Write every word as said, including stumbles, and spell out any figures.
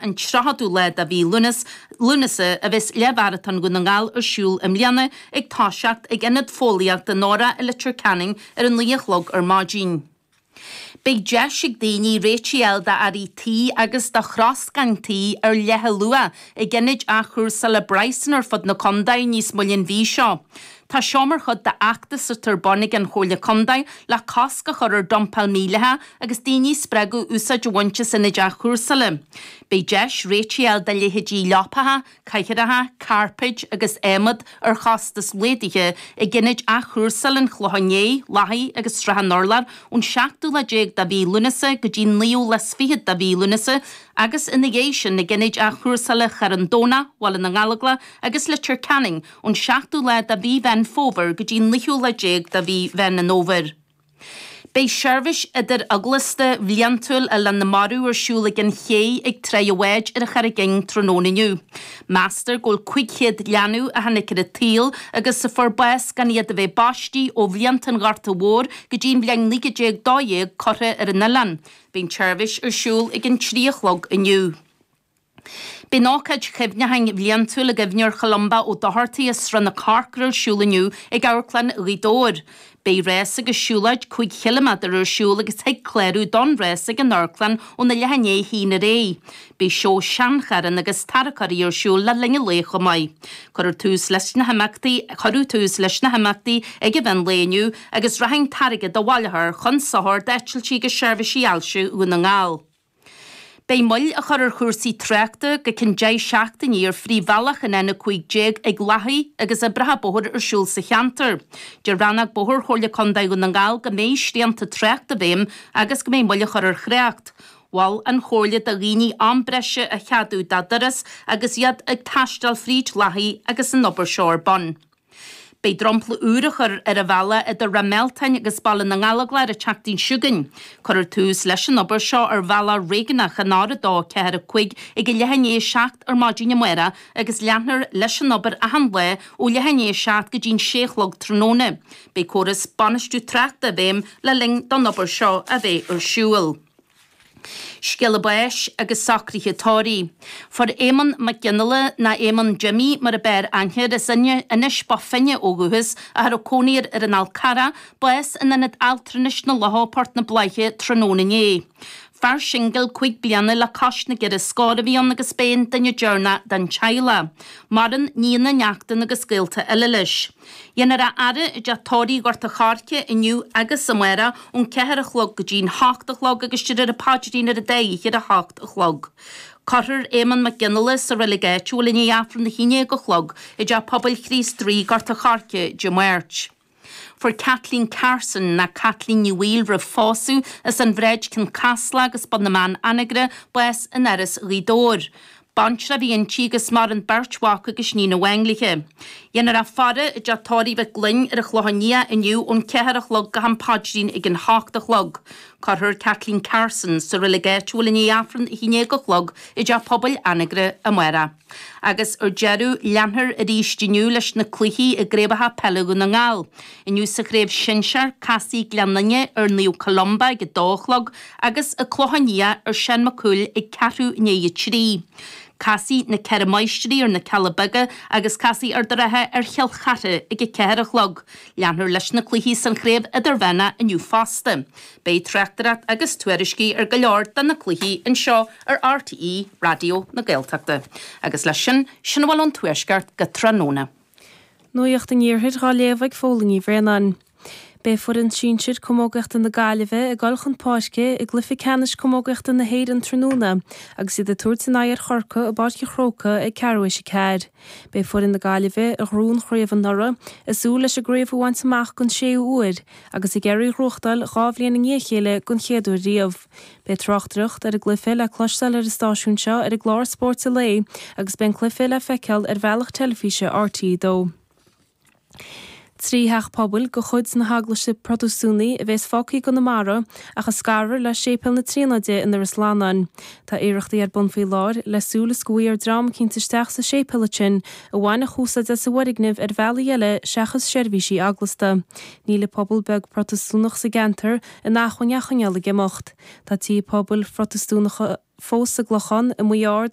an tríochadú lá de mhí Lúnasa a bheas Leathmharatón Dhún na nGall ar siúl i mbliana ag toiseacht ag Ionad Fóillíochta Nora i Leitir Ceanainn ar a naoi a chlog ar maidin. Beidh deis ag daoine réitigh a fháil d'earraí tí agus do throscán tí ar leathluach ag ionaid athchúrsála Bryson ar fud na contae níos moille an mhí seo. Tá seo mar chuid d'fheachtas atá ar bun ag an Chomhairle Contae le cosc a chur ar dumpáil mhídhleathach agus daoine a spreagadh úsáid a bhaint as ionaid athchúrsála. Beidh deis réitigh a fháil do leithéidí leapacha, cathaoireacha, cairpéid agus adhmad ar chostas laghdaithe ag ionaid athchúrsála an Chlocháin Léith, Lathaí agus Srath an Urláir ón seachtú lá déag de mhí Lúnasa go dtí an naoú lá is fichead de mhí Lúnasa agus ina dhiaidh sin ag ionaid athchúrsála Charn Domhnach, Bhaile na nGallóglach agus Leitir Ceanainn ón seachtú lá de mhí Mheán Fómhair go dtí an naoú lá déag de mhí Mheán an Fhómhair. Beidh seirbhís idir-eaglasta bhliantúil Oileán na Marbh ar siúl ag an ché ag Tráigh an Bháid ar an Charraig Fhinn tráthnóna inniu. Meastar go bhfuil cúig chéad leanbh a tháinig ar an tsaol agus a fuair bás gan iad a bheith baistí ó bhlianta an Ghorta Mhóir go dtí an bhliain naoi déag dó dhéag curtha ar an oileán. Beidh an tseirbhís ar siúl ag an trí a chlog inniu. Beidh an ócáid chuimhneacháin bhliantúil i gcuimhne ar Cholumba Ó Dochartaigh as Srath na Corcra ar siúl inniu ag Amharclann Ghaoth Dobhair. Beidh rás agus siúlóid cúig chiliméadar ar siúl agus thig clárú don rás ag an amharclann óna leath i ndiaidh a haon aréir. Beidh seó seancharranna agus tarracóirí ar siúl le linn an lae chomh maith. Cuirfear tús leis na himeachtaí Cuireadh tús leis na himeachtaí ag an mheán lae inniu agus rachaidh an t-airgead a bhaileofar chun sochair d'eitiltí agus seirbhísí ailse Dhún na nGall. Beidh moill á chur ar chúrsaí tráchta go ceann deich seachtainí ar phríomhbhealach an N a cúig déag ag Lathaí agus oibreacha bóthair ar siúl sa cheantar. Deir Rannóg Bóthair Chomhairle Contae Dhún na nGall go mbeidh srianta tráchta i bhfeidhm agus go mbeidh moill á chur ar thrácht. Mhol an Chomhairle do dhaoine am breise a cheadú dá dturas agus iad ag taisteal fríd Lathaí agus an obair seo ar bun. Beidh dromchla úr á chur ar an bhealach idir Ráth Mealtain agus Baile na nGallóglach ar an tseachtain seo chugainn. Cuirfear tús leis an obair seo ar bhealach réigiúnach an R a dó ceathair a cúig ag a leath i ndiaidh a seacht ar maidin amárach agus leanfar leis an obair achan lá ó leath i ndiaidh a seacht go dtí'n sé a chlog tráthnóna. Beidh córas bainistiú tráchta i bhfeidhm le linn don obair seo a bheith ar siúl. Scéala báis agus socruithe tórraimh. Fuair Éamonn Mac Gionnaile, nó Éamonn Jimmy mar a b'fhearr aithne air, as Inis Bó Finne ó dhúchas, a raibh cónaí air ar an Fhál Carrach, bás in Ionad Altranais na Locha, Port na Bláiche, tráthnóna inné. Fear singil cúig bliana le cois na gceithre scór a bhí ann agus b'é an duine deireanach den teaghlach. Maireann nianna, neachtanna agus gaolta eile leis. Dhéanfar a fhaire i dteach tórraimh Ghort a' Choirce inniu agus amárach ón ceathair a chlog go dtí'n hocht a chlog agus déarfar an paidrín ar an dá oíche ar a hocht a chlog. Cuirfear Éamonn Mac Gionnaile sa reilig áitiúil i ndiaidh Aifreann a haon déag a chlog i dTeach Pobail Chríost Rí, Gort a' Choirce, Dé Máirt. Fuair Kathleen Carson, ná Caitlín Ní Bhaoill roimh phósadh, as an Bhráid Cionn Caslach agus Bun na mBan Anagaire, bás in Áras Ghaoth Dobhair. Baintreach a bhí inti agus maireann beirt mhac agus níon amháin léi. Dhéanfar a faire i dteach tórraimh Mhic Gloinn ar an Chlochán Liath inniu ón ceathair a chlog go ham paidrín ag an hocht a chlog. Cuirfear Kathleen Carson sa reilig áitiúil i ndiaidh Aifreann a haon déag a chlog i dTeach Pobail Anagaire amárach. Agus ar deireadh, leanfar arís inniu leis na cluichí i gcraobhacha peile Dhún na nGall. Inniu sa chraobh shinsir, casfaidh Gleann Fhinne ar Naomh Columba ag a dó a chlog agus an Clochán Liath ar Seán Mac Cumhaill ag ceathrú i ndiaidh a trí. Casfaidh na Ceithre Máistrí ar na Cealla Beaga agus casfaidh Ard an Rátha ar Chill Chartha ag a ceathair a chlog. Leanfar leis na cluichí san chraobh idirmheánach inniu fosta. Beidh tráchtaireacht agus tuairiscí ar go leor de na cluichí anseo ar R T E Raidió na Gaeltachta. Agus leis sin, sin a bhfuil ón Tuaisceart go tráthnóna. Nuacht an Iarthair á léamh ag Fódhla Ní Bhraonáin. Beidh foireann sinsir camógaíochta na Gaillimhe ag dul chun páirce i gcluiche ceannais camógaíochta na hÉireann tráthnóna agus iad ag tabhairt a n-aghaidh ar Chorcaigh i bPáirc an Chrócaigh ag ceathrú théis a ceathair. Beidh foireann na Gaillimhe a ghnóthaigh an chraobh anuraidh ag súil leis an gcraobh a bhaint amach don séú huair agus ag iarraidh í a ghnóthachtáil dhá bhliain i ndiaidh a chéile don chéad uair riamh. Beidh tráchtaireacht ar an gcluiche le cloisteáil ar an stáisiún seo ar an gclár Spórt an Lae agus beidh an cluiche le feiceáil ar bhealach teilifíse R T dó. Trí theach pobail de chuid na hEaglaise Protastúnaí a bheas fágtha i gConamara ach a scarfar le Séipéal na Tríonóide i nDoire Slannáin. Tá iarrachtaí ar bun faoi láthair le súil is go bhfaighfear dream eicínt isteach sa séipéal ansin a bhainfeadh úsáid as an bhfoirgneamh ar bhealaí eile seachas seirbhísí eaglasta. Níl an pobal beag Protastúnach sa gceantar in acmhainn é a choinneáil ag imeacht. Tá tithe pobail Phrotastúnacha fós sa gClochán, i Maigh Ard